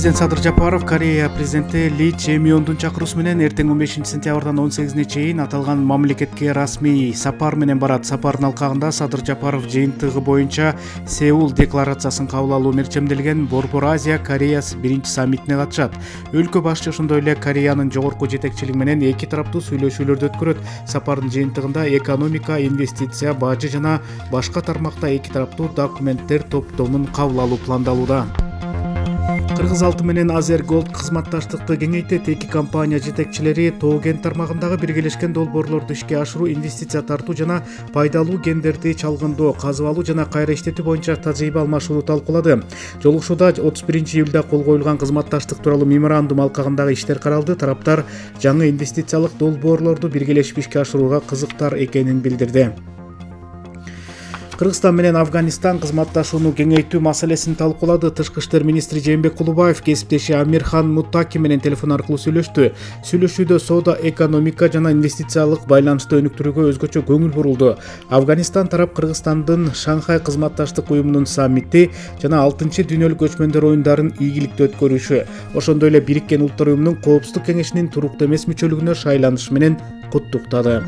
Президент Садыр Жапаров Корея президенти Ли Чемиондун чакыруусу менен эртең 15-сентябрдан 18-ине чейин аталган мамлекетке расмий сапар менен барат. Сапардын алкагында Садыр Жапаров жыйынтыгы боюнча Сеул декларациясын кабыл алуу мерчемделген Борбор Азия Корея биринчи саммитине катышат. Өлкө башчы ошондой эле Кореянын жогорку жетекчилиги менен эки тараптуу сүйлөшүүлөрдү өткөрөт. Сапардын жыйынтыгында экономика, инвестиция, бажы жана башка тармакта эки тараптуу документтер топтомун кабыл алуу пландалууда. Кыргыз алты менен Азер Голд кызматташтыкты кеңейтет. Эки компания жетекчилери тоо кен тармагындагы биргелешкен долбоорлорду ишке ашыруу, инвестиция тартуу жана пайдалуу кендерди чалгындоо, казып алуу жана кайра иштетүү боюнча тажрыйба алмашууну талкуулады. Жолугушууда 31-июлда кол коюлган кызматташтык тууралуу меморандум алкагындагы иштер каралды. Тараптар жаңы инвестициялык долбоорлорду биргелешип ишке ашырууга кызыктар экенин билдирди. Кыргызстан менен Афганистан кызматташууну кеңейтүү маселесин талкуулады. Тышкы иштер министри Жээнбек Кулубаев кесиптеши Амирхан Муттаки менен телефон аркылуу сүйлөштү. Сүйлөшүүдө соода, экономика жана инвестициялык байланышты өнүктүрүүгө өзгөчө көңүл бурулду. Афганистан тарап Кыргызстандын Шанхай кызматташтык уюмунун саммити жана 6-дүйнөлүк көчмөндөр оюндарын ийгиликтүү өткөрүшү, ошондой эле Бириккен Улуттар уюмунун Коопсуздук кеңешинин туруктуу эмес мүчөлүгүнө шайланышы менен куттуктады.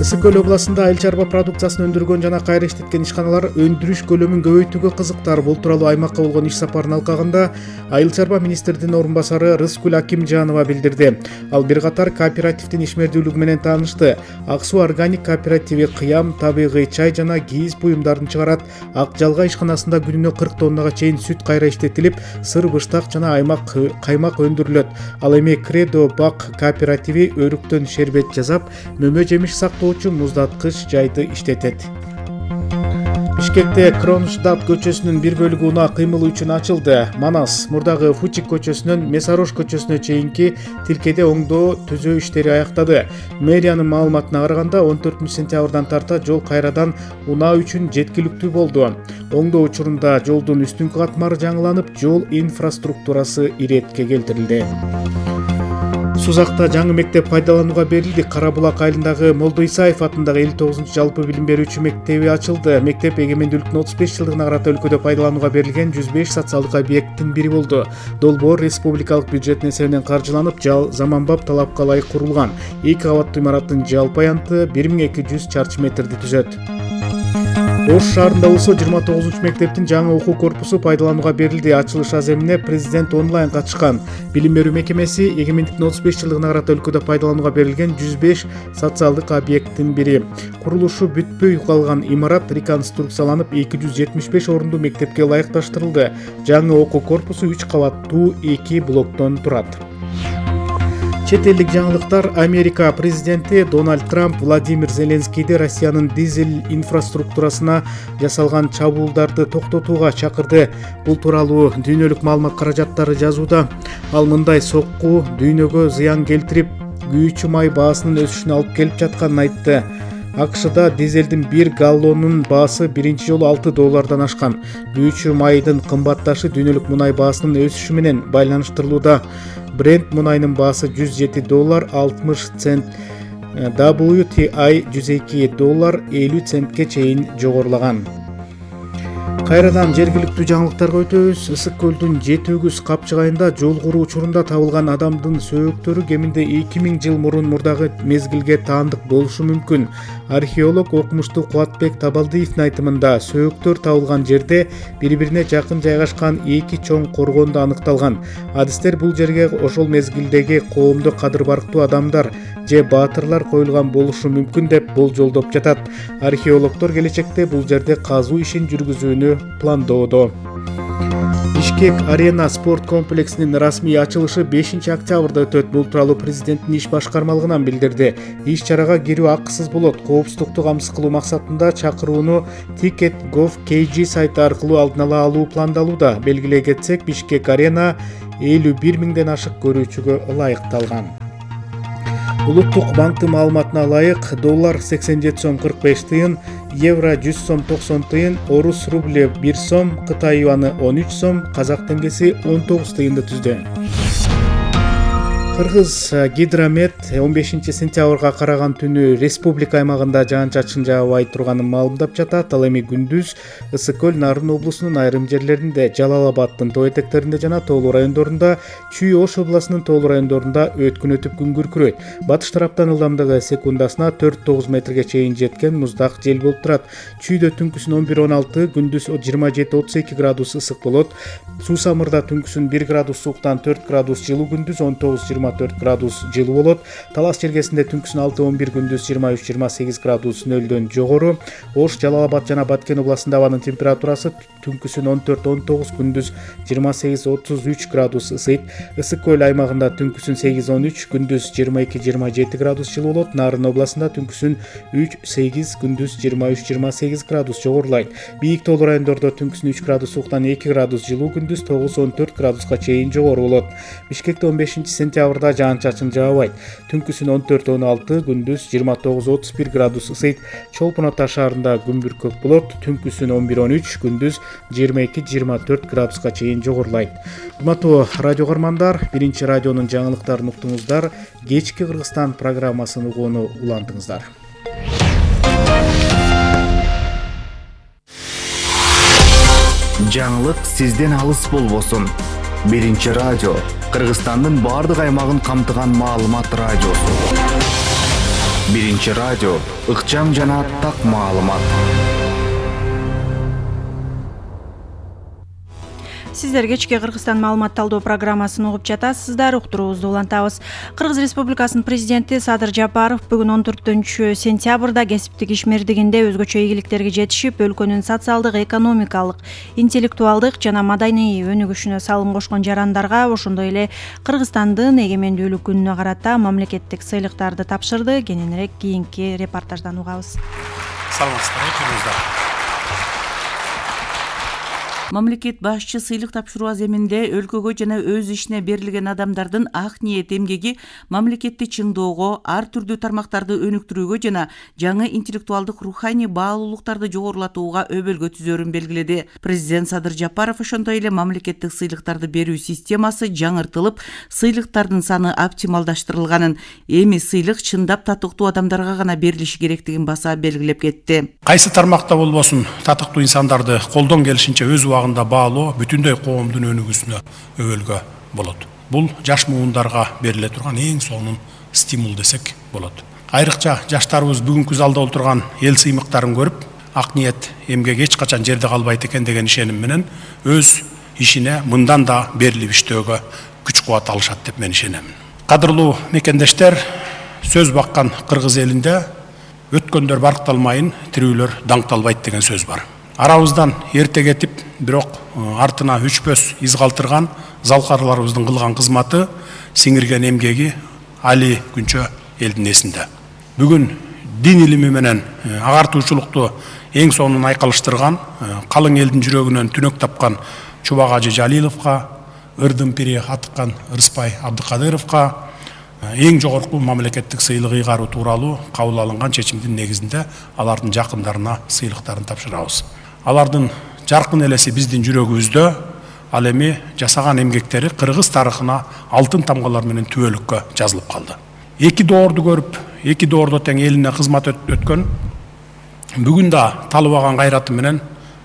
Ысык Көл областында айыл чарба продукциясын өндүргөн жана кайра иштеткен ишканалар өндүрүш көлөмүн көбөйтүүгө кызыктар. Бул тууралуу аймакка болгон иш сапарынын алкагында айыл чарба министринин орун басары Рыскүл Акимжанова билдирди. Ал бир катар кооперативдин ишмердүүлүгү менен таанышты. Ак суу органик кооперативи кыям, табигый чай жана кийиз буюмдарын чыгарат. Ак жалга ишканасында күнүнө 40 тоннага чейин сүт кайра иштетилип, сыр, быштак жана каймак өндүрүлөт. Ал эми Кредо Бак кооперативи өрүктөн шербет жасап, мөмө жемиш сактоочу муздаткыч жайды иштетет. Бишкекте Кронштадт көчөсүнүн бир бөлүгү унаа кыймылы үчүн ачылды. Манас, мурдагы Фучик көчөсүнөн Месарош көчөсүнө чейинки тилкеде оңдоо түзөө иштери аяктады. Мэриянын маалыматына караганда 14-сентябрдан тарта жол кайрадан унаа үчүн жеткиликтүү болду. Оңдоо учурунда жолдун үстүңкү катмары жаңыланып, жол инфраструктурасы иретке келтирилди. Сузакта жаңы мектеп пайдаланууга берилди. Кара Булак айылындагы Молдо Исаев атындагы 59 жалпы билим берүүчү мектеби ачылды. Мектеп эгемендүүлүктүн 35 жылдыгына карата өлкөдө пайдаланууга берилген 105 социалдык объекттин бири болду. Долбоор республикалык бюджеттин эсебинен каржыланып, заманбап талапка ылайык курулган. 2 кабаттуу имараттын жалпы аянты 1200 чарчы метрди түзөт. Ош шаарында болсо 29-мектептин жаңы окуу корпусу пайдаланууга берилди. Ачылыш аземине президент онлайн катышкан. Билим берүү мекемеси эгемендиктин 35 жылдыгына карата өлкөдө пайдаланууга берилген 105 социалдык объекттин бири. Курулушу бүтпөй калган имарат реконструкцияланып 275 орунду мектепке ылайыкташтырылды. Жаңы окуу корпусу 3 кабаттуу 2 блоктон турат. Чет элдик жаңылыктар. Америка президенти Дональд Трамп Владимир Зеленскийди Россиянын дизель инфраструктурасына жасалган чабуулдарды токтотууга чакырды. Бул тууралуу дүйнөлүк маалымат каражаттары жазууда. Ал мындай сокку дүйнөгө зыян келтирип, күйүүчү май баасынын өсүшүнө алып келип жатканын айтты. АКШда дизелдин 1 галлонунун баасы биринчи жолу $6 ашкан. Күйүүчү майдын кымбатташы дүйнөлүк мунай баасынын өсүшү менен байланыштырылууда. Brent мунайынын баасы $107.60, WTI $102.50 чейин жогорулаган. Кайрадан жергиликтүү жаңылыктарга өтөбүз. Ысык көлдүн Жети-Өгүз капчыгайында жол куруу учурунда табылган адамдын сөөктөрү кеминде 2000 жыл мурун мурдагы мезгилге таандык болушу мүмкүн. Археолог окумуштуу Кубатбек Табалдиевдин айтымында, сөөктөр табылган жерде бири-бирине жакын жайгашкан 2 чоң коргондо аныкталган. Адистер бул жерге ошол мезгилдеги коомдо кадыр барктуу адамдар же баатырлар коюлган болушу мүмкүн деп болжолдоп жатат. Археологдор келечекте бул жерде казуу ишин жүргүзүүнү пландоодо. Бишкек Арена спорт комплексинин расмий ачылышы 5-октябрда өтөт. Бул тууралуу президенттин иш башкармалыгынан билдирди. Иш чарага кирүү акысыз болот. Коопсуздукту камсыз кылуу максатында чакырууну Ticket.gov.kg сайты аркылуу алдын ала алуу пландалууда. Белгилей кетсек, Бишкек Арена 51 миңден ашык көрүүчүгө ылайыкталган. Улуттук банктын маалыматына ылайык, доллар 87 сом 45 тыйын, евро 100 сом 90 тыйын, орус рубле 1 сом, Кытай юаны 13 сом, казак теңгеси 19 тыйынды түздү. Кыргыз Гидромет 15 сентябрга караган түнү республика аймагында жаан-чачын жаабай турганын маалымдап жатат. Ал эми күндүз Ысык көл Нарын облусунун айрым жерлеринде, Жалал Абаддын тоо этектеринде жана тоолуу райондорунда, Чүй Ош областынын тоолуу райондорунда өткүн өтүп күн күркүрөйт. Батыш тараптан ылдамдыгы секундасына 4-9 метрге чейин жеткен муздак жел болуп турат. Чүйдө түнкүсүн 11-16, күндүз 27-32 градус ысык болот. Суусамырда түнкүсүн 1 градус сууктан 4 градус жылуу, күндүз 19-24 градус жылуу болот. Талас Чергесинде түнкүсүн 6-11, күндүз 23-28 градус нөлдөн жогору. Ош, Жалал Абад жана Баткен областында абанын температурасы түнкүсүн 14-19, күндүз 28-33 градус ысыйт. Ысык көл аймагында түнкүсүн 8-13, күндүз 22-27 градус жылуу болот. Нарын областында түнкүсүн 3-8, күндүз 23-28 градус жогорулайт. Бийик тоолуу райондордо түнкүсүн 3 градус сууктан 2 градус жылуу, күндүз 9-14 градуска чейин жогору болот. Бишкекте 15 сентябрда жаан-чачын жаабайт. Түнкүсүн 14-16, күндүз 29-31 градус ысыйт. Чолпон Ата шаарында күн бүркөк болот. Түнкүсүн 11-13, күндүз 22-24 градуска чейин жогорулайт. Урматтуу радио көрмандар, Биринчи радионун жаңылыктарын уктуңуздар. Кечки Кыргызстан программасын угууну улантыңыздар. Жаңылык сизден алыс болбосун. Биринчи радио Кыргызстандын баардык аймагын камтыган маалымат радиосу. Биринчи радио ыкчам жана так маалымат. Сиздер кечки Кыргызстан маалымат талдоо программасын угуп жатасыздар. Уктуруубузду улантабыз. Кыргыз Республикасынын президенти Садыр Жапаров бүгүн 14-сентябрда кесиптик ишмердигинде өзгөчө ийгиликтерге жетишип, өлкөнүн социалдык, экономикалык, интеллектуалдык жана маданий өнүгүшүнө салым кошкон жарандарга, ошондой эле Кыргызстандын эгемендүүлүк күнүнө карата мамлекеттик сыйлыктарды тапшырды. Кененирээк кийинки репортаждан угабыз. Саламатсыздар. Мамлекет башчы сыйлык тапшыруу аземинде өлкөгө жана өз ишине берилген адамдардын ак ниет эмгеги мамлекетти чыңдоого, ар түрдүү тармактарды өнүктүрүүгө жана жаңы интеллектуалдык руханий баалуулуктарды жогорулатууга өбөлгө түзөрүн белгиледи. Президент Садыр Жапаров ошондой эле мамлекеттик сыйлыктарды берүү системасы жаңыртылып, сыйлыктардын саны оптималдаштырылганын, эми сыйлык чындап татыктуу адамдарга гана берилиши керектигин баса белгилеп кетти. Кайсы тармакта болбосун, татыктуу инсандарды колдон келишинче өз убагында баалоо бүтүндөй коомдун өнүгүүсүнө өбөлгө болот. Бул жаш муундарга бериле турган эң сонун стимул десек болот. Айрыкча жаштарыбыз бүгүнкү залда отурган эл сыймыктарын көрүп, ак ниет эмгек эч качан жерде калбайт экен деген ишеним менен өз ишине мындан да берилип иштөөгө күч кубат алышат деп мен ишенем. Кадырлуу мекендештер, сөз баккан кыргыз элинде өткөндөр баркталмайын, тирүүлөр даңкталбайт деген сөз бар. Арабыздан эрте кетип, бирок артына үчпөс из калтырган залкарларыбыздын кылган кызматы, сиңирген эмгеги али күнчө элдин эсинде. Бүгүн дин илими менен агартуучулукту эң сонун айкалыштырган, калың элдин жүрөгүнөн түнөк тапкан Чубак Ажы Жалиловго, ырдын пири Атыккан Ырыспай Абдыкадыровго эң жогорку мамлекеттик сыйлык ыйгаруу тууралуу кабыл алынган чечимдин негизинде алардын жакындарына сыйлыктарын тапшырабыз. Алардын жаркын элеси биздин жүрөгүбүздө, ал эми жасаган эмгектери кыргыз тарыхына алтын тамгалар менен түбөлүккө жазылып калды. Эки доорду көрүп, эки доордо тең элине кызмат өткөн, бүгүн да талыбаган кайраты менен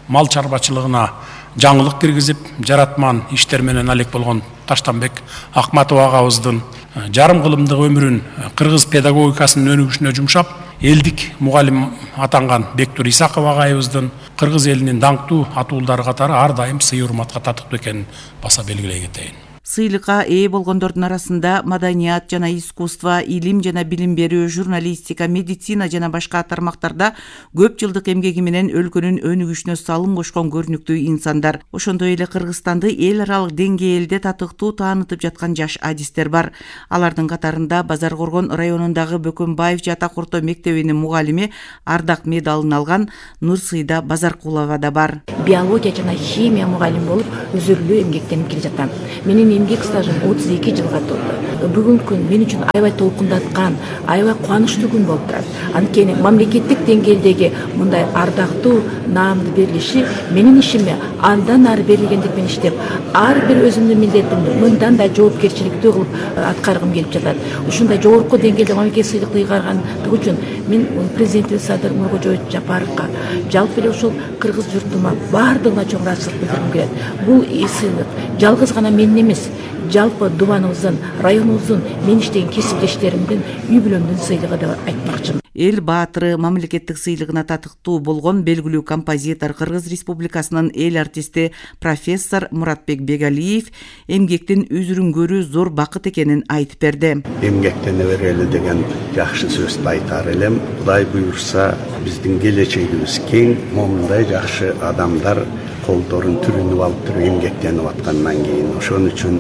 мал чарбачылыгына жаңылык киргизип, жаратман иштер менен алек болгон Таштанбек Акматов агабыздын жарым кылымдык өмүрүн кыргыз педагогикасынын өнүгүшүнө жумшап, элдик мугалим атанган Бектур Исаков агайыбыздын кыргыз элинин даңктуу атуулдары катары ар дайым сый урматка татыктуу экенин баса белгилей кетейин. Сыйлыкка ээ болгондордун арасында маданият жана искусство, илим жана билим берүү, журналистика, медицина жана башка тармактарда көп жылдык эмгеги менен өлкөнүн өнүгүшүнө салым кошкон көрүнүктүү инсандар. Ошондой эле Кыргызстанды эл аралык деңгээлде татыктуу таанытып жаткан жаш адистер бар. Алардын катарында Базар Коргон районундагы Бөкөнбаев жатак орто мектебинин мугалими, ардак медалын алган Нурсыйда Базаркулова да бар. Биология жана химия мугалим болуп, үзүрлүү эмгектенип келе жатам. Менин эмгек стажым 32 жылга толду. Бүгүнкү күн мен үчүн аябай толкундаткан, аябай кубанычтуу күн болуп турат. Анткени мамлекеттик деңгээлдеги мындай ардактуу наамды берилиши менин ишиме андан ары берилгендик менен иштеп, ар бир өзүмдүн милдетимди мындан да жоопкерчиликтүү кылып аткаргым келип жатат. Ушундай жогорку деңгээлде мамлекет сыйлыкты ыйгаргандыгы үчүн мен президентибиз Садыр Нуркожоевич Жапаровго жалпы эле ушул кыргыз журтума баардыгына чоң ыраазычылык билдиргим келет. Бул сыйлык жалгыз гана менин эмес, жалпы дубаныбыздын, районубуздун, мен иштеген кесиптештеримдин, үй бүлөмдүн сыйлыгы деп айтмакчымын. Эл баатыры мамлекеттик сыйлыгына татыктуу болгон белгилүү композитор, Кыргыз Республикасынын эл артисти профессор Муратбек Бегалиев эмгектин үзүрүнгөрү зор бакыт экенин айтып берди. Эмгектене берели деген жакшы сөздү айтар элем. Кудай буйрса, биздин келечегибиз кең, момундай жакшы адамдар колдорун түрүнүп алып туруп эмгектенип аткандан кийин ошон үчүн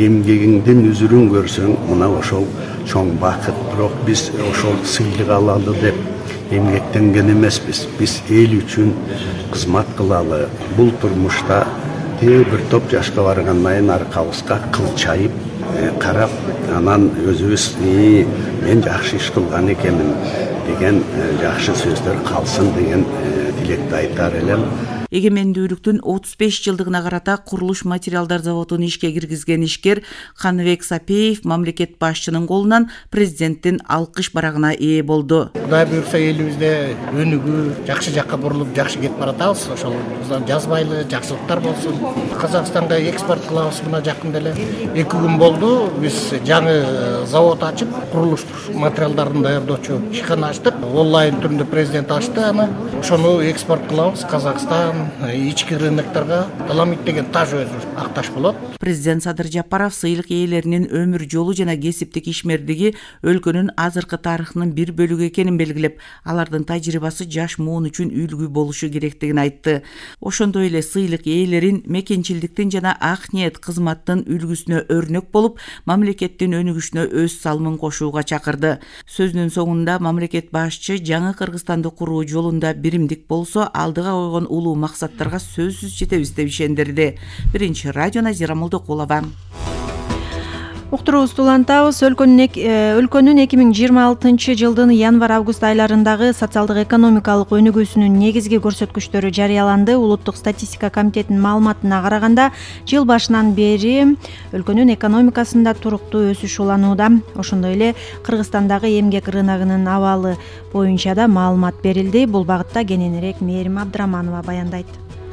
эмгегиңдин үзүрүн көрсөң мына ошол чоң бакыт. Бирок биз ошол сыйлык алалы деп эмгектенген эмеспиз. Биз эл үчүн кызмат кылалы. Бул турмушта бир топ жашка баргандан кийин аркабызга кылчайып карап, анан өзүбүз мен жакшы иш кылган экенмин деген жакшы сөздөр калсын деген тилекти айтар элем. Эгемендүүлүктүн 35 жылдыгына карата курулуш материалдар заводун ишке киргизген ишкер Каныбек Сапеев мамлекет башчынын колунан президенттин алкыш барагына ээ болду. Кудай буйрса элибизде өнүгүү жакшы жакка бурулуп жакшы кетип баратабыз. Ошол жазбайлы жакшылыктар болсун. Казакстанга экспорт кылабыз. Мына жакында эле 2 күн болду. Биз жаңы завод ачып, курулуш материалдарын даярдоочу ишкана ачтык. Онлайн түрүндө президент ачты аны. Ошону экспорт кылабыз. Казакстан ички рыноктарга таламит деген таж өзү акташ болот. Президент Садыр Жапаров сыйлык ээлеринин өмүр жолу жана кесиптик ишмердиги өлкөнүн азыркы тарыхынын бир бөлүгү экенин белгилеп, алардын тажрыйбасы жаш муун үчүн үлгү болушу керектигин айтты. Ошондой эле сыйлык ээлерин мекенчилдиктин жана ак ниет кызматтын үлгүсүнө өрнөк болуп, мамлекеттин өнүгүшүнө өз салымын кошууга чакырды. Сөзүнүн соңунда мамлекет башчы жаңы Кыргызстанды куруу жолунда биримдик болсо, алдыга койгон улуу максаттарга сөзсүз жетебиз деп ишендирди. Биринчи радио Назира Молдокулова. Уктуруубузду улантабыз. Өлкөнүн 2026 жылдын январь-август айларындагы социалдык экономикалык өнүгүүсүнүн негизги көрсөткүчтөрү жарыяланды. Улуттук статистика комитетинин маалыматына караганда, жыл башынан бери өлкөнүн экономикасында туруктуу өсүш уланууда. Ошондой эле Кыргызстандагы эмгек рыногунун абалы боюнча да маалымат берилди. Бул багытта кененирээк Мээрим Абдыраманова баяндайт.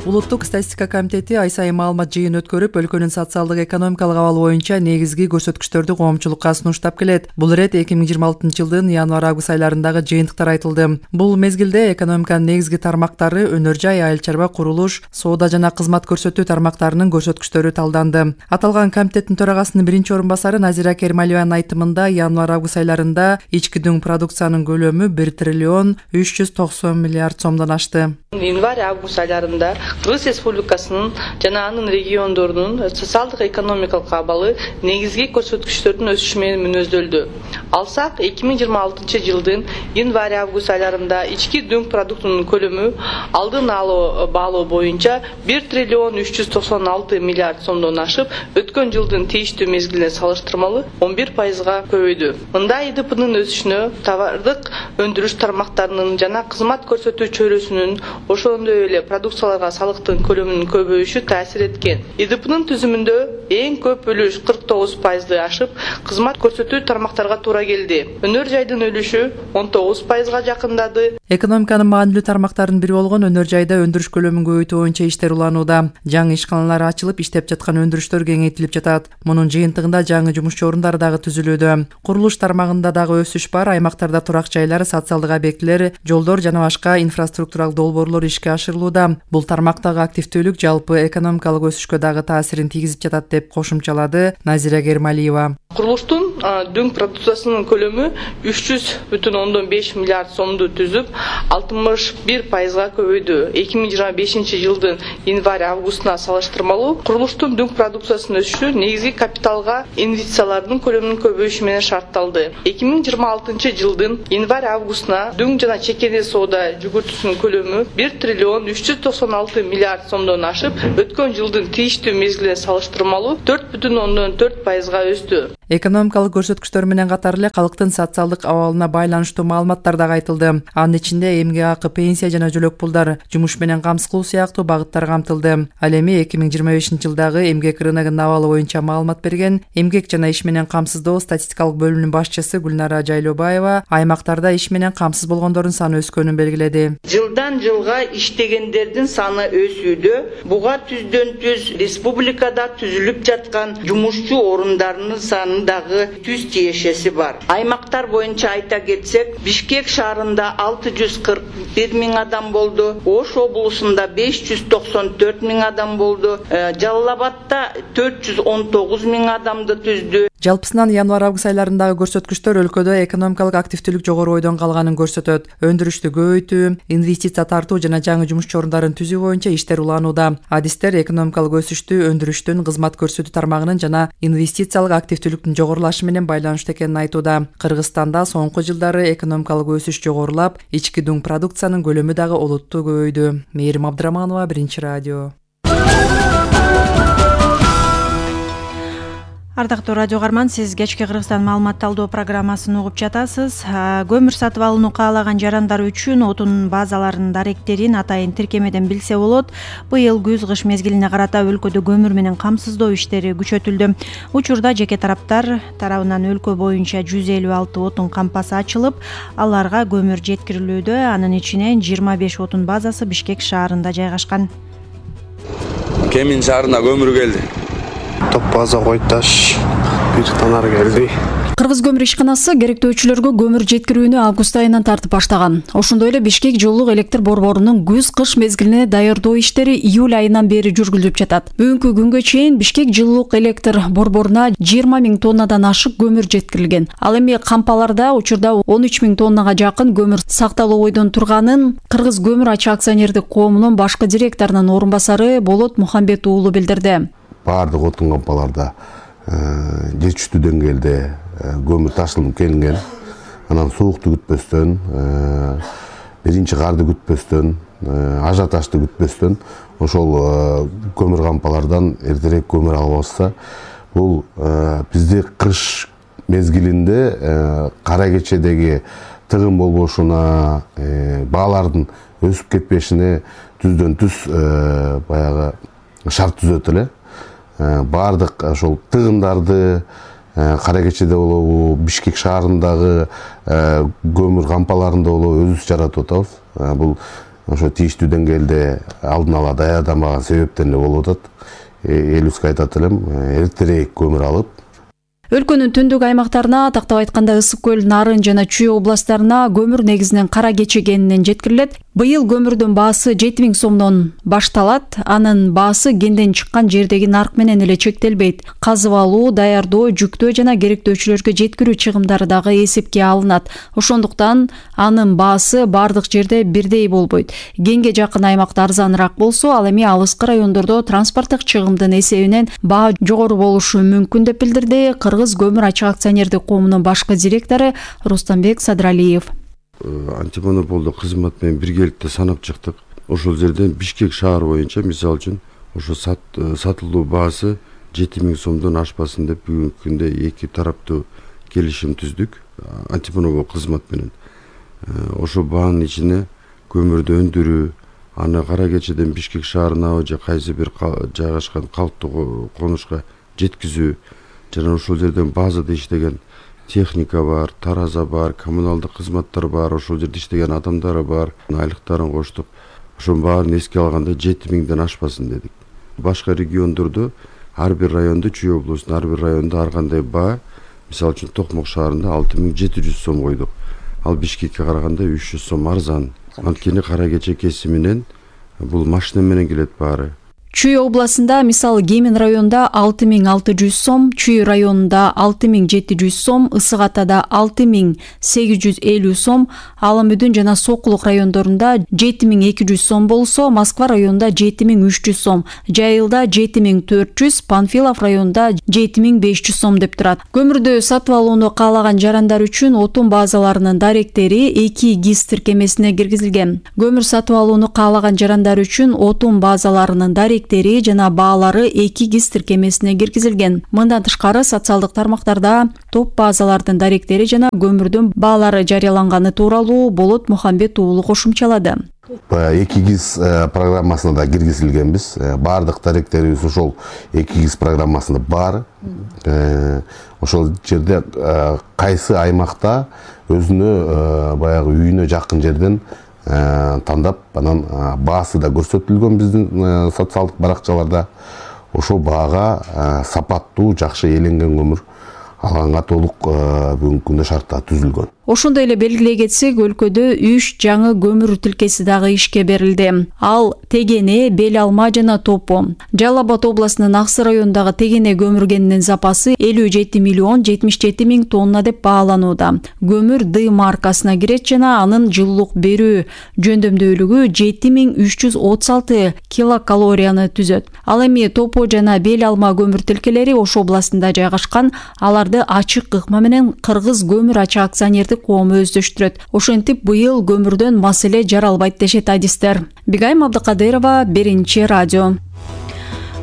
Улуттук статистика комитети ай сайын маалымат жыйын өткөрүп, өлкөнүн социалдык экономикалык абалы боюнча негизги көрсөткүчтөрдү коомчулукка сунуштап келет. Бул ирет 2026 жылдын январь-август айларындагы жыйынтыктар айтылды. Бул мезгилде экономиканын негизги тармактары өнөр жай, айыл чарба, курулуш, соода жана кызмат көрсөтүү тармактарынын көрсөткүчтөрү талданды. Аталган комитеттин төрагасынын биринчи орун басары Назира Кермалиеванын айтымында январь-август айларында ички дүң продукциянын көлөмү 1 триллион 390 миллиард сомдон ашты. Январь-август айларында Кыргыз Республикасынын жана анын региондорунун социалдык экономикалык абалы негизги көрсөткүчтөрдүн өсүшү менен мүнөздөлдү. Алсак, 2026 жылдын январь-август айларында ички дүң продуктунун көлөмү алдын алуу баалоо боюнча 1 триллион 396 миллиард сомдон ашып, өткөн жылдын тийиштүү мезгилине салыштырмалуу 11%га көбөйдү. Мында ИДПнын өсүшүнө товардык өндүрүш тармактарынын жана кызмат көрсөтүү чөйрөсүнүн, ошондой эле продукцияларга салыктын көлөмүнүн көбөйүшү таасир эткен. ИДПнын түзүмүндө эң көп үлүш 49%ды ашып, кызмат көрсөтүү тармактарга туура келди. Өнөр жайдын үлүшү 19%га жакындады. Экономиканын маанилүү тармактарынын бири болгон өнөр жайда өндүрүш көлөмүн көбөйтүү боюнча иштер уланууда. Жаңы ишканалар ачылып, иштеп жаткан өндүрүштөр кеңейтилип жатат. Мунун жыйынтыгында жаңы жумушчу орундары дагы түзүлүүдө. Курулуш тармагында дагы өсүш бар. Аймактарда турак жайлар, социалдык объектилер, жолдор жана башка инфраструктуралык долбоорлор ишке ашырылууда. Бул тармактагы активдүүлүк жалпы экономикалык өсүшкө дагы таасирин тийгизип жатат деп кошумчалады Назира Кермалиева. Курулуштун дүң продукциясынын көлөмү 300,5 миллиард сомду түзүп, 61% көбөйдү. 2025 жылдын январь-августуна салыштырмалуу курулуштун дүң продукциясынын өсүшү негизги капиталга инвестициялардын көлөмүнүн көбөйүшү менен шартталды. 2026 жылдын январь-августуна дүң жана чекене соода жүгүртүүсүнүн көлөмү 1 триллион 396 миллиард сомдон ашып, өткөн жылдын тийиштүү мезгилине салыштырмалуу 4,4% өстү. Экономикалык көрсөткүчтөр менен катар эле калктын социалдык абалына байланыштуу маалыматтар дагы айтылды. Анын ичинде эмгек акы, пенсия жана жөлөк пулдар, жумуш менен камсыз кылуу сыяктуу багыттар камтылды. Ал эми 2025 жылдагы эмгек рыногунун абалы боюнча маалымат берген эмгек жана иш менен камсыздоо статистикалык бөлүмүнүн башчысы Гүлнара Жайлообаева аймактарда иш менен камсыз болгондордун саны өскөнүн белгиледи. Жылдан жылга иштегендердин саны өсүүдө. Буга түздөн түз республикада түзүлүп жаткан жумушчу орундарынын саны дагы түз тиешеси бар. Аймактар боюнча айта кетсек, Бишкек шаарында 641 миң адам болду, Ош облусунда 594 миң адам болду, Жалал Абадта 419 миң адамды түздү. Жалпысынан январь-август айларындагы көрсөткүчтөр өлкөдө экономикалык активдүүлүк жогору бойдон калганын көрсөтөт. Өндүрүштү көбөйтүү, инвестиция тартуу жана жаңы жумушчу орундарын түзүү боюнча иштер уланууда. Адистер экономикалык өсүштү өндүрүштүн, кызмат көрсөтүү тармагынын жана инвестициялык активдүүлүктүн жогорулашы менен байланыштуу экенин айтууда. Кыргызстанда соңку жылдары экономикалык өсүш жогорулап, ички дүң продукциянын көлөмү дагы олуттуу көбөйдү. Мээрим Абдыраманова, Биринчи радио. Ардактуу радио каарман, сиз кечки Кыргызстан маалымат талдоо программасын угуп жатасыз. Көмүр сатып алууну каалаган жарандар үчүн отун базаларынын даректерин атайын тиркемеден билсе болот. Быйыл күз-кыш мезгилине карата өлкөдө көмүр менен камсыздоо иштери күчөтүлдү. Учурда жеке тараптар тарабынан өлкө боюнча 156 отун кампасы ачылып, аларга көмүр жеткирилүүдө. Анын ичинен 25 отун базасы Бишкек шаарында жайгашкан. Кемин шаарына көмүр келди. Топ база Койташ, бир танар келди. Кыргыз көмүр ишканасы керектөөчүлөргө көмүр жеткирүүнү август айынан тартып баштаган. Ошондой эле Бишкек жылуулук электр борборунун күз-кыш мезгилине даярдоо иштери июль айынан бери жүргүзүлүп жатат. Бүгүнкү күнгө чейин Бишкек жылуулук электр борборуна 20 миң тоннадан ашык көмүр жеткирилген. Ал эми кампаларда учурда 13 миң тоннага жакын көмүр сакталуу ойдон турганын Кыргыз көмүр ачык акционердик коомунун башкы директорунун орун басары Болот Мухамбет уулу билдирди. Бардык отун кампаларда жетиштүү деңгээлде көмүр ташылып келинген. Анан суукту күтпөстөн, биринчи карды күтпөстөн, ажиотажды күтпөстөн ошол көмүр кампалардан эртерээк көмүр алып алса, бул бизде кыш мезгилинде кара кечедеги тыгын болбошуна, баалардын өсүп кетпешине түздөн түз баягы шарт түзөт эле. Бардык ошол тыгындарды кара кечеде болобу, Бишкек шаарындагы көмүр кампаларында болобу өзүбүз жаратып атабыз. Бул ошо тийиштүү деңгээлде алдын ала даярдамаган себептен эле болуп атат. Элибизге айтат элем, эртерээк көмүр алып. Өлкөнүн түндүк аймактарына, тактап айтканда Ысык көл, Нарын жана Чүй областтарына көмүр негизинен кара кече кенинен жеткирилет. Быйыл көмүрдүн баасы 7 миң сомдон башталат. Анын баасы кенден чыккан жердеги нарк менен эле чектелбейт. Казып алуу, даярдоо, жүктөө жана керектөөчүлөргө жеткирүү чыгымдары дагы эсепке алынат. Ошондуктан анын баасы бардык жерде бирдей болбойт. Кенге жакын аймакта арзаныраак болсо, ал эми алыскы райондордо транспорттук чыгымдын эсебинен баа жогору болушу мүмкүн деп билдирди Кыргыз көмүр ачык акционердик коомунун башкы директору Рустамбек Садралиев. Антимонополдук кызмат менен биргеликте санап чыктык. Ошол жерден Бишкек шаар боюнча мисалы үчүн ошо сатылуу баасы 7 миң сомдон ашпасын деп бүгүнкү күндө эки тараптуу келишим түздүк антимонопол кызмат менен. Ошо баанын ичине көмүрдү өндүрүү, аны кара кечеден Бишкек шаарына же кайсы бир жайгашкан калктуу конушка жеткизүү жана ошол жерден базада иштеген техника бар, тараза бар, коммуналдык кызматтар бар, ошол жерде иштеген адамдар бар, айлыктарын коштук. Ошонун баарын эске алганда 7 миңден ашпасын дедик. Башка региондордо ар бир райондо, Чүй облусунун ар бир районунда ар кандай баа, мисалы үчүн Токмок шаарында 6700 сом койдук. Ал Бишкекке караганда 300 сом арзан. Анткени кара кече кесиминен бул машина менен келет баары. Чүй областында мисалы Кемин районунда 6600 сом, Чүй районунда 6700 сом, Ысык Атада 6850 сом, Аламүдүн жана Сокулук райондорунда 7200 сом болсо, Москва районунда 7300 сом, Жайылда 7400, Панфилов районунда 7500 сом деп турат. Көмүрдү сатып алууну каалаган жарандар үчүн отун базаларынын даректери 2 ГИС тиркемесине киргизилген. Көмүр сатып алууну каалаган жарандар үчүн отун базаларынын даректери жана баалары 2 ГИС тиркемесине киргизилген. Мындан тышкары социалдык тармактарда топ базалардын даректери жана көмүрдүн баалары жарыяланганы тууралуу Болот Мухамбет уулу кошумчалады. 2 ГИС программасына да киргизилгенбиз. Баардык даректерибиз ошол 2 ГИС программасында бар. Ошол жерде кайсы аймакта өзүнө баягы үйүнө жакын жерден тандап, анан баасы да көрсөтүлгөн биздин социалдык баракчаларда. Ошол баага сапаттуу, жакшы эленген көмүр алганга толук бүгүнкү күндө шарттар түзүлгөн. Ошондой эле белгилей кетсек, өлкөдө 3 жаңы көмүр тилкеси дагы ишке берилди. Ал Тегене, Бел Алма жана Топо. Жалал Абад областынын Аксы районундагы Тегене көмүр кенинин запасы 57 миллион 77 миң тонна деп бааланууда. Көмүр Д маркасына кирет жана анын жылуулук берүү жөндөмдүүлүгү 7336 килокалорияны түзөт. Ал эми Топо жана Бел Алма көмүр тилкелери Ош областында жайгашкан. Аларды ачык ыкма менен Кыргыз көмүр ачык акционердик коому өздөштүрөт. Ошентип быйыл көмүрдөн маселе жаралбайт дешет адистер. Бигайым Абдыкадырова, Биринчи радио.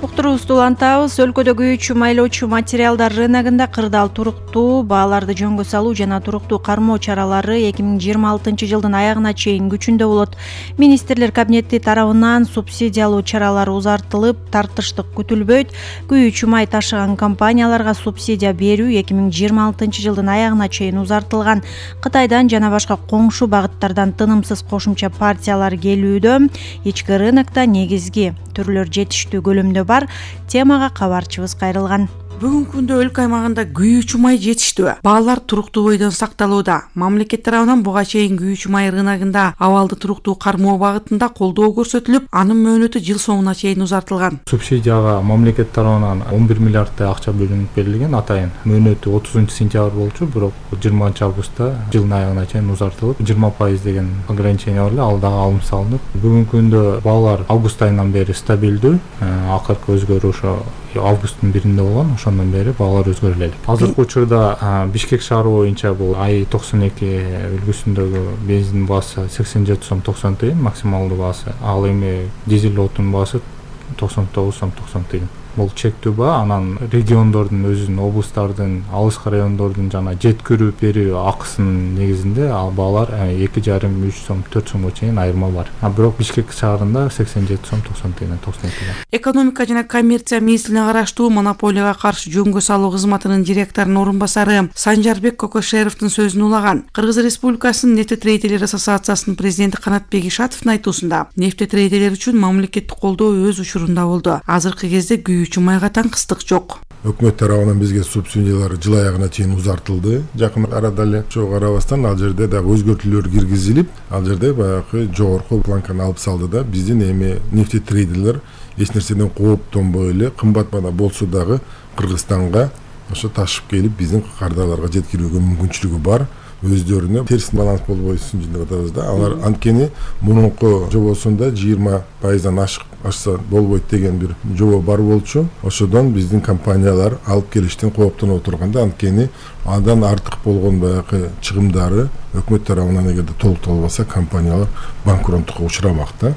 Уктуруубузду улантабыз. Өлкөдө күйүүчү майлоочу материалдар рыногунда кырдаал туруктуу бааларды жөнгө салуу жана туруктуу кармоо чаралары 2026 жылдын аягына чейин күчүндө болот. Министрлер кабинети тарабынан субсидиялоо чаралары узартылып, тартыштык күтүлбөйт. Күйүүчү май ташыган компанияларга субсидия берүү 2026 жылдын аягына чейин узартылган. Кытайдан жана башка коңшу багыттардан тынымсыз кошумча партиялар келүүдө. Ички рынокто негизги түрлөр жетиштүү көлөмдө бар. Темага кабарчыбыз кайрылган. Бүгүнкү күндө өлкө аймагында күйүүчү май жетиштүү. Баалар туруктуу бойдон сакталууда. Мамлекет тарабынан буга чейин күйүүчү май рыногунда абалды туруктуу кармоо багытында колдоо көрсөтүлүп, анын мөөнөтү жыл соңуна чейин узартылган. Субсидияга мамлекет тарабынан 11 миллиардтай акча бөлүнүп берилген атайын. Мөөнөтү 30-сентябрь болчу, бирок 20-августта жылдын аягына чейин узартылып, 20% деген ограничение бар эле, ал дагы алынып салынып. Бүгүнкү күндө баалар август айынан бери стабилдүү. Акыркы өзгөрүү ошо августтун 1-inde болгон, ошондон бери баалар өзгөрө элек. Азыркы учурда Бишкек шаары боюнча бул ай 92 үлгүсүндөгү бензин баасы 87 сом 90 тыйын максималдуу баасы. Ал эми дизель отун баасы 99 сом 90 тыйын. Бул чектүү баа, анан региондордун өзүнүн, облустардын, алыскы райондордун жана жеткирүү берүү акысынын негизинде ал баалар 2,5-3 сом 4 сомго чейин айырма бар. Бирок Бишкек шаарында 87 сом 90 тыйын 90 тыйын. Экономика жана коммерция министрлигине караштуу монополияга каршы жөнгө салуу кызматынын директорунун орун басары Санжарбек Кокошеровдун сөзүн улаган. Кыргыз Республикасынын нефтетрейдерлер ассоциациясынын президенти Канатбек Ишатовдун айтуусунда, нефтетрейдерлер үчүн мамлекеттик колдоо өз учурунда болду. Азыркы кезде күйүүчү майга таңкыстык жок. Өкмөт тарабынан бизге субсидиялар жыл аягына чейин узартылды. Жакын арада эле ошого карабастан ал жерде дагы өзгөртүүлөр киргизилип, ал жерде баягы жогорку планканы алып салды да биздин эми нефтетрейдерлер эч нерседен кооптонбой эле кымбат баада болсо дагы Кыргызстанга ошо ташып келип биздин кардарларга жеткирүүгө мүмкүнчүлүгү бар. Өздөрүнө терс баланс болбойсун деп атабыз да. Алар анткени мурунку жобосунда 20%дан ашса болбойт деген бир жобо бар болчу. Ошодон биздин компаниялар алып келиштен кооптонуп отурганда, анткени андан артык болгон баягы чыгымдары өкмөт тарабынан эгерде толукталбаса, компаниялар банкроттукка учурамак да.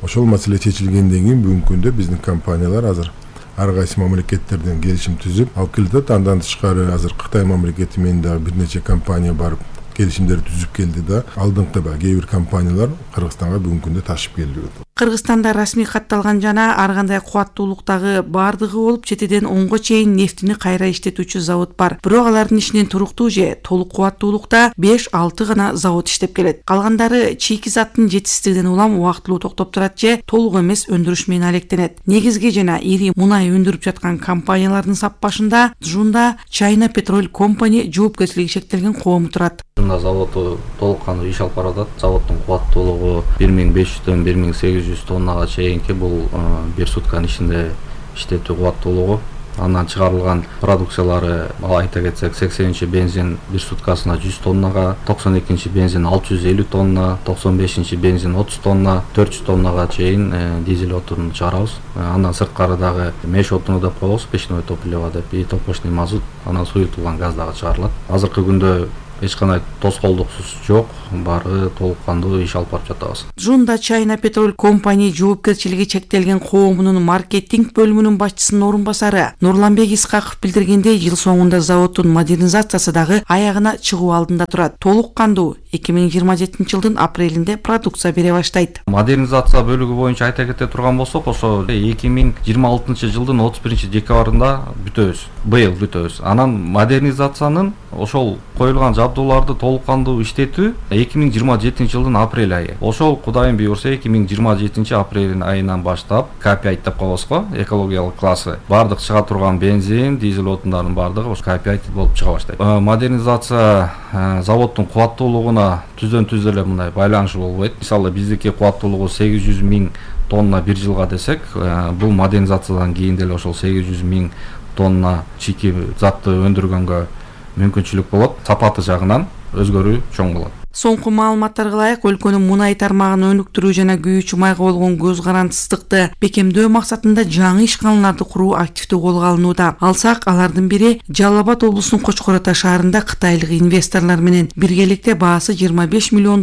Ошол маселе чечилгенден кийин бүгүнкү күндө биздин компаниялар азыр ар кайсы мамлекеттерден келишим түзүп алып келет. Андан тышкары азыр Кытай мамлекети менен дагы бир нече компания барып келишимдер түзүп келди да. Алдыңкы кээ бир компаниялар Кыргызстанга бүгүнкү күндө ташып келди. Кыргызстанда расмий катталган жана ар кандай кубаттуулуктагы бардыгы болуп 7-ден 10го чейин нефтини кайра иштетүүчү завод бар. Бирок алардын ичинен туруктуу же толук кубаттуулукта 5-6 гана завод иштеп келет. Калгандары чийки заттын жетишсиздигинен улам убактылуу токтоп турат же толук эмес өндүрүш менен алектенет. Негизги жана ири мунай өндүрүп жаткан компаниялардын сап башында Джунда China Petrol Company жоопкерчилиги шектелген коому турат. Заводу толук кандуу иш алып баратат. Заводдун кубаттуулугу 1500-дөн 1800 800 тоннага чейинки бул бир сутканын ичинде иштетүү кубаттуулугу. Андан чыгарылган продукциялары айта кетсек 80 бензин бир суткасына 100 тоннага, 92 бензин 650 тонна, 95 бензин 30 тонна, 400 тоннага чейин дизель отун чыгарабыз. Андан сырткары дагы меш отуну деп коебуз, печное топливо деп, и топочный мазут, анан суютулган газ дагы чыгарылат. Азыркы күндө эч кандай тоскоолдуксуз жок, баары толук кандуу иш алып барып жатабыз. Жунда China Petrol Company жоопкерчилиги чектелген коомунун маркетинг бөлүмүнүн башчысынын орун басары Нурланбек Исхаков билдиргендей, жыл соңунда заводдун модернизациясы дагы аягына чыгуу алдында турат. Толук кандуу 2027 жылдын апрелинде продукция бере баштайт. Модернизация бөлүгү боюнча айта кете турган болсок, ошо 2026 жылдын 31 декабрында бүтөбүз. Быйыл бүтөбүз. Анан модернизациянын ошол коюлган жабдууларды толук кандуу иштетүү 2027 жылдын апрель айы. Ошол Кудайым буйрса 2027 апрель айынан баштап K5 деп коебуз го, экологиялык классы. Бардык чыга турган бензин, дизель отундардын бардыгы ошо K5 болуп чыга баштайт. Модернизация заводдун кубаттуулугуна түздөн түз эле мындай байланышы болбойт. Мисалы биздики кубаттуулугу 800 000 тонна бир жылга десек, бул модернизациядан кийин деле ошол 800 000 тонна чийки затты өндүргөнгө мүмкүнчүлүк болот. Сапаты жагынан өзгөрүү чоң болот. Соңку маалыматтарга ылайык, өлкөнүн мунай тармагын өнүктүрүү жана күйүүчү майга болгон көз карандысыздыкты бекемдөө максатында жаңы ишканаларды куруу активдүү колго алынууда. Алсак, алардын бири Жалал Абад облусунун Кочкор Ата шаарында кытайлык инвесторлор менен биргеликте баасы $25 миллион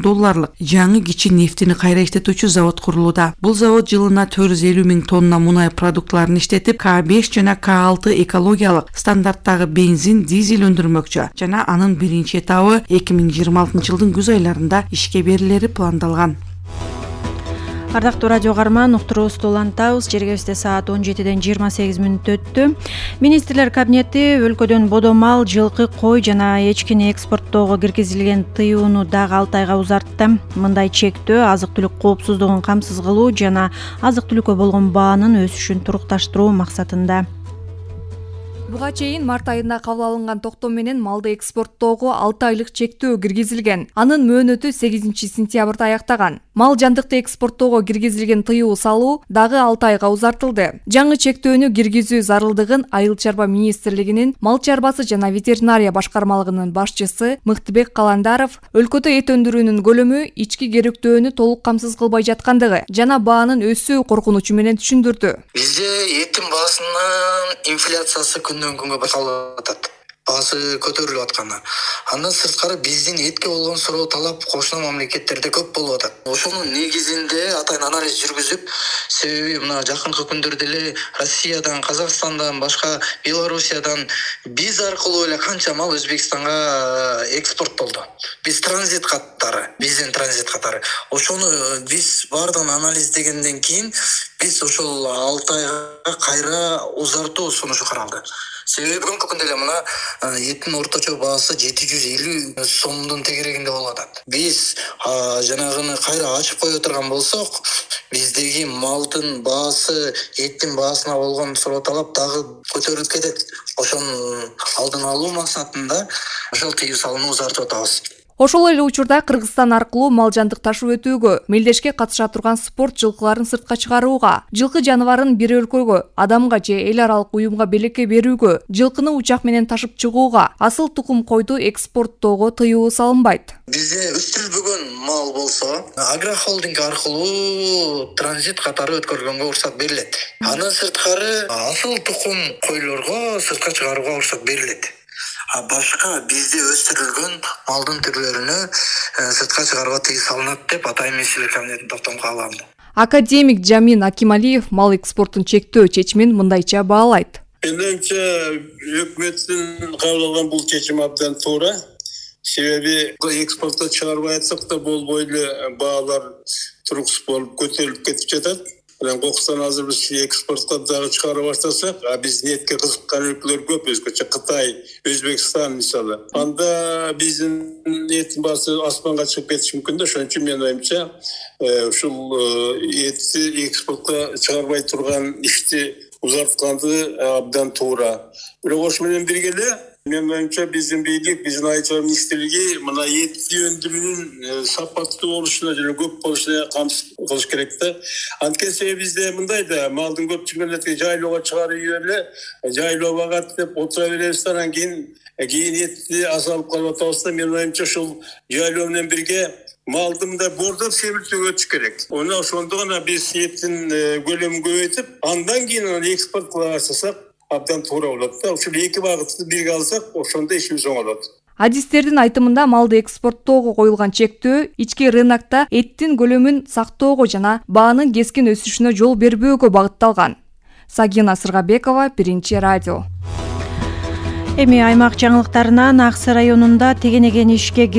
жаңы кичи нефтини кайра иштетүүчү завод курулууда. Бул завод жылына 450 000 тонна мунай продуктларын иштетип, K5 жана K6 экологиялык стандарттагы бензин, дизель өндүрмөкчү жана анын биринчи этабы 2026 жылдын күз айларында ишке берилери пландалган. Ардактуу радио каарман, уктуруубузду улантабыз. Жергебизде саат 17-ден 28 мүнөт өттү. Министрлер кабинети өлкөдөн бодомал, жылкы, кой жана эчкини экспорттоого киргизилген тыюуну дагы 6 айга узартты. Мындай чектөө азык-түлүк коопсуздугун камсыз кылуу жана азык-түлүккө болгон баанын өсүшүн турукташтыруу максатында. Буга чейин март айында кабыл алынган токтом менен малды экспорттоого 6 айлык чектөө киргизилген. Анын мөөнөтү 8 сентябрда аяктаган. Мал жандыкты экспорттоого киргизилген тыюу салуу дагы 6 айга узартылды. Жаңы чектөөнү киргизүү зарылдыгын Айыл чарба министрлигинин мал чарбасы жана ветеринария башкармалыгынын башчысы Мыктыбек Каландаров өлкөдө эт өндүрүүнүн көлөмү ички керектөөнү толук камсыз кылбай жаткандыгы жана баанын өсүү коркунучу менен түшүндүрдү. Бизде эттин баасынын инфляциясы күндөн күнгө байкалып атат. Баасы көтөрүлүп атканы. Андан сырткары биздин этке болгон суроо талап кошуна мамлекеттерде көп болуп атат. Ошонун негизинде атайын анализ жүргүзүп, себеби мына жакынкы күндөрдө эле Россиядан, Казакстандан, башка Белоруссиядан биз аркылуу эле канча мал Өзбекстанга экспорттолду. Биз транзит катары, биздин транзит катары. Ошону биз бардыгын анализдегенден кийин биз ошол 6 айга кайра узартуу сунушу каралды. Себеби бүгүнкү күндө эле мына эттин орточо баасы 750 сомдун тегерегинде болуп атат. Биз жанагыны кайра ачып кое турган болсок, биздеги малдын баасы, эттин баасына болгон суроо талап дагы көтөрүлүп кетет. Ошонун алдын алуу максатында ошол тыюу салууну узартып атабыз. Ошол эле учурда Кыргызстан аркылуу мал жандык ташып өтүүгө, мелдешке катыша турган спорт жылкыларын сыртка чыгарууга, жылкы жаныбарын бир өлкөгө, адамга же эл аралык уюмга белекке берүүгө, жылкыны учак менен ташып чыгууга, асыл тукум койду экспорттоого тыюу салынбайт. Бизде өстүрүлбөгөн мал болсо, агрохолдинг аркылуу транзит катары өткөргөнгө уруксат берилет. Андан сырткары асыл тукум койлорго сыртка чыгарууга уруксат берилет. Башка бизде өстүрүлгөн малдын түрлөрүнө сыртка чыгарууга тыюу салынат деп атайын министрлер кабинетинин токтому кабыл алынды. Академик Жамин Акималиев мал экспортун чектөө чечимин мындайча баалайт. Менимче өкмөттүн кабыл алган бул чечим абдан туура. Себеби экспортто чыгарбай атсак да болбой эле баалар туруксуз болуп көтөрүлүп кетип жатат. Кокустан азыр биз экспортко дагы чыгара баштасак, биздин этке кызыккан өлкөлөр көп, өзгөчө Кытай, Өзбекстан мисалы. Анда биздин эттин баасы аспанга чыгып кетиши мүмкүн да. Ошон үчүн менин оюмча, ушул этти экспортко чыгарбай турган ишти узартканды абдан туура. Бирок ош менен бирге эле Менин оюмча биздин бийлик, биздин айыл чарба министрлиги мына эт өндүрүүнүн сапаттуу болушуна жана көп болушуна камсыз кылыш керек да. Анткени себеби бизде мындай да, малдын көпчүлүгүн жайлоого чыгарып эле, жайлоо багат деп отура беребиз да, анан кийин этти азалып калып атабыз да. Менин оюмча ушул жайлоо менен бирге малды мындай бордоп семиртүүгө өтүш керек. Ошондо гана биз эттин көлөмүн көбөйтүп, андан кийин экспорт кыла баштасак абдан туура болот да. Ушул эки багытты бирге алсак, ошондо ишибиз оңолот. Адистердин айтымында малды экспорттоого коюлган чектөө ички рынокто эттин көлөмүн сактоого жана баанын кескин өсүшүнө жол бербөөгө багытталган. Сагина Сыргабекова, Биринчи радио. Эми аймак жаңылыктарынан Аксы районунда тегенеген ишке